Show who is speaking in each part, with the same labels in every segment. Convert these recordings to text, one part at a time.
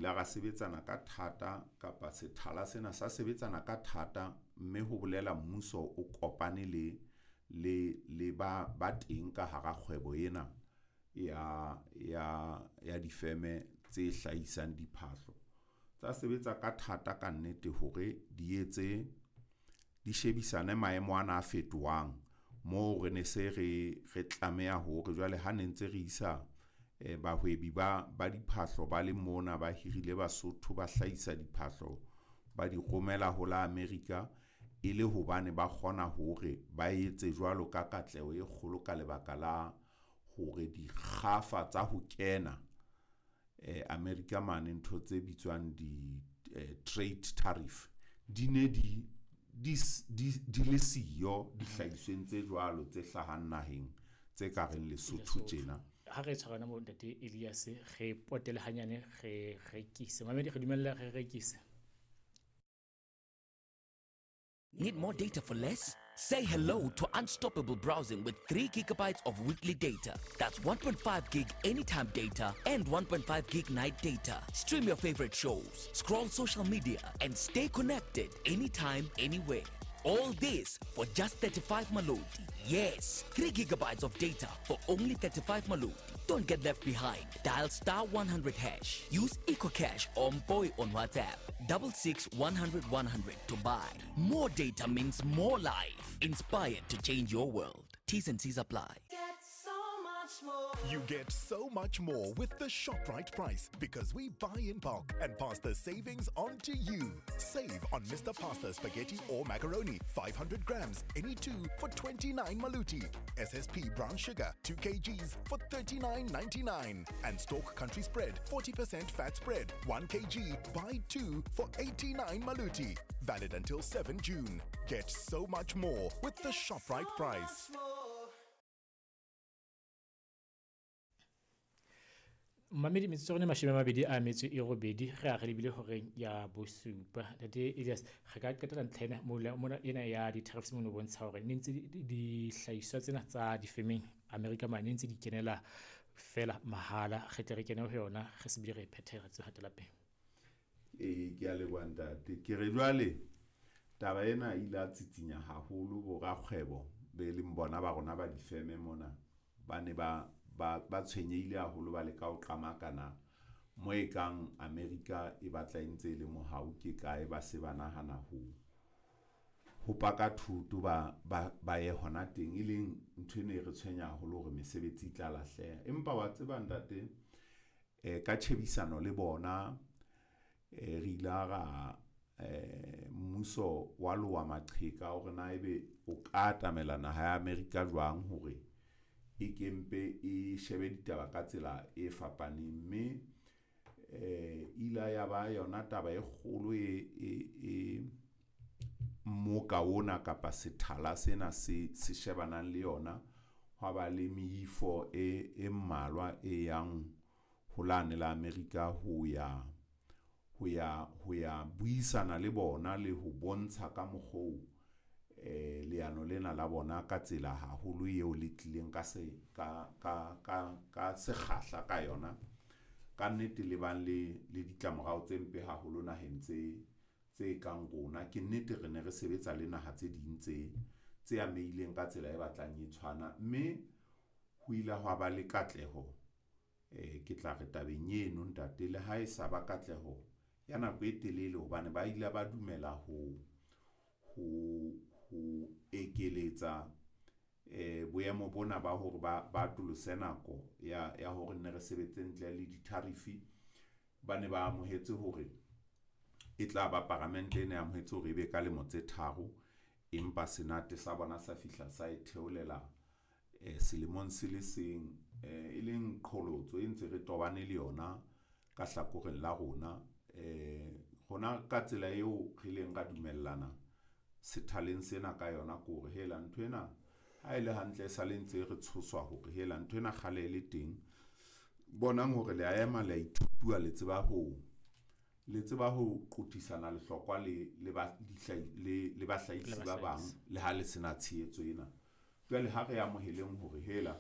Speaker 1: ile ra sebetsana ka thata kapa sethala sena sa sebetsana ka thata, mme ho bolela mmuso o kopane le ba teng ka hara kgwebo ena ya difeme tse hlahisang diphahlo. Tsa sebetsa ka thata kannete hore di etse di shebisane maemo ana a fetohang moo re ne se re tlameha hore jwale ha ne ntse re isa bahwebi ba diphahlo ba le mona, ba hirile Basotho ba hlahisa diphahlo, ba di romela ho la America e le hobane ba kgona hore ba etse jwalo ka katleho e kgolo ka lebaka la hore dikgafa tsa ho kena America mane ntho tse bitswang di-trade tariff di ne di le siyo dihlahisweng tse jwalo tse hlahang naheng tse ka reng Lesotho tjena.
Speaker 2: Ha re tshwarana mo ntate Elias, re potele hanyane, re rekise. Mamedi, re dumella re rekise.
Speaker 3: Need more data for less? Say hello to unstoppable browsing with 3 gigabytes of weekly data. That's 1.5 gig anytime data and 1.5 gig night data. Stream your favorite shows, scroll social media, and stay connected anytime, anywhere. All this for just 35 Maloti. Yes, 3 gigabytes of data for only 35 Maloti. Don't get left behind. Dial star 100 hash. Use EcoCash or Mpoy on WhatsApp. 66 100 100 to buy. More data means more life. Inspired to change your world. T's and C's apply.
Speaker 4: Get so much more.
Speaker 5: You get so much more with the ShopRite price because we buy in bulk and pass the savings on to you. Save on Mr. Pasta spaghetti or macaroni, 500 grams, any two for 29 maluti. SSP brown sugar, 2 kgs for 39.99. And Stork Country Spread, 40% fat spread, 1 kg, buy 2 for 89 maluti. Valid until 7 June. Get so much more with the ShopRite
Speaker 4: So
Speaker 5: price.
Speaker 4: much more.
Speaker 2: Mamedi, metsotso ya rona e 28 re a re lebile horeng ya bosupa. Ntate Elias, re ka qetela ntlha ena mona ena ya di-tariffs mono bontsha hore ne ntse dihlahiswa tsena tsa difemeng America mane ntse di kenela fela mahala. Re tle re kene ho yona, re se bile re e phethe, re tsebe hatela pele.
Speaker 1: Ee, ke a leboha ntate. Ke re jwale taba ena e ile ya tsitsinya haholo bo rakgwebo be leng bona ba rona ba difeme mona. Ba ne ba tshwenyehile haholo, ba leka ho qamakana mo e kang America e batla e ntse e le mohau ke kae, ba se ba nahana ho paka thoto ba ye hona teng, e leng ntho ene e re tshwenya haholo hore mesebetsi e tla lahleha. Empa wa tseba ntate, ka tjhebisano le bona re ile ra mmuso wa loha maqheka hore na ebe o ka atamela naha ya America jwang hore e kempe e shebe ditaba ka tsela e fapaneng. Mme ila ya ba yona taba e kgolo e mmoka ona kapa sethala sena se shebanang le yona. Hwa ba le meifo e mmalwa e yang ho lane la America ho ya buisana le bona le ho bontsha ka mokgo leano lena la bona ka tsela haholo eo le tlileng ka se ka sekgahla ka yona. Ka nnete le bang le ditlamorao tse mpe haholo naheng tse kang rona. Ke nnete re ne re sebetsa le naha tse ding tse amehileng ka tsela e batlang e tshwana, mme ho ile hwa ba le katleho. Ke tla re tabeng eno ntate, le ha e sa ba katleho ya nako e telele, hobane ba ile ba dumela ho ekeletsa boemo bona ba hore ba atolose nako ya hore nne re sebetse ntle le di-tariff. Ba ne ba amohetse hore e tla ba paramente e ne amohetse hore ebe ka lemo tse 3, empa senate sa bona sa fihla sa e theolela selemong se le seng, e leng qholotso e ntse re tobane le yona ka hlakoreng la rona. Rona ka tsela eo re ileng ra dumellana sethaleng sena ka yona ke hore hela nthwena ha e le hantle e sale ntse re tshoswa hore hela nthwena kgale e le teng. Bonang hore le a ema le a ithutua, le tseba ho qothisana lehlokwa le bahlahisi ba bang le ha le sena tshehetso ena. Jwale ha re amoheleng hore hela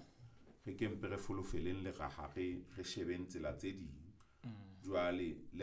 Speaker 1: re kempe re folofeleng leraha, re shebeng tsela tse ding. Jwale le